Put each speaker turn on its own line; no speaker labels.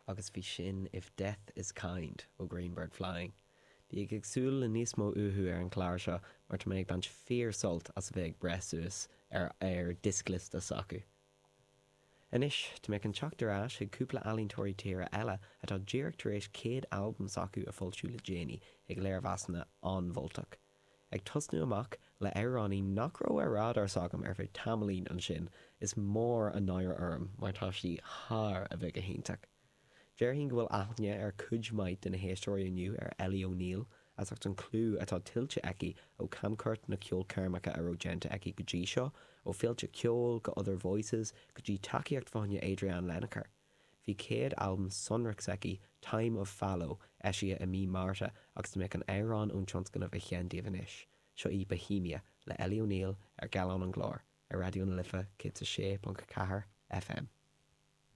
Agus bhí sin If Death Is Kind ó Green Bird Flying. Bígí ag súil le níos mó uathu ar an chlár seo mar tá mé ag baint fíor sult as a bheith ag breith suas ar ar dioscliosta s'acu. Anois, tá mé chun teacht ar ais chuig cúpla ealaíontóirí tíre eile atá díreach tar éis chéad albam s'acu a foilsiú le déanaí ag léirmheasanna an-mholtach. Ag tosnú amach le amhránaí nach raibh ar radar s'agam ar feadh tamaillín ansin, is mór an náire orm mar tá sí thar a bheith go hiontach. Déarfainn go bhfuil aithne ar cuid mhaith de na héisteoirí inniu ar Ellie O'Neill as ucht an clú atá tuillte aici ó chamchuairt na ceolchoirmeacha a raibh déanta aici go dtí seo, ó féilte ceoil go Other Voices go dtí tacaíocht fá choinne Adrianne Lenker. Bhí céad albam sonrach s'aici, Time of Fallow, eisithe i mí Márta agus tá mé chun amhrán ón tionscnamh a sheinn daoibh anois. Seo í Bohemia le Ellie O'Neill ar Gallán an Ghlóir ar Raidió na Life 106.4 FM.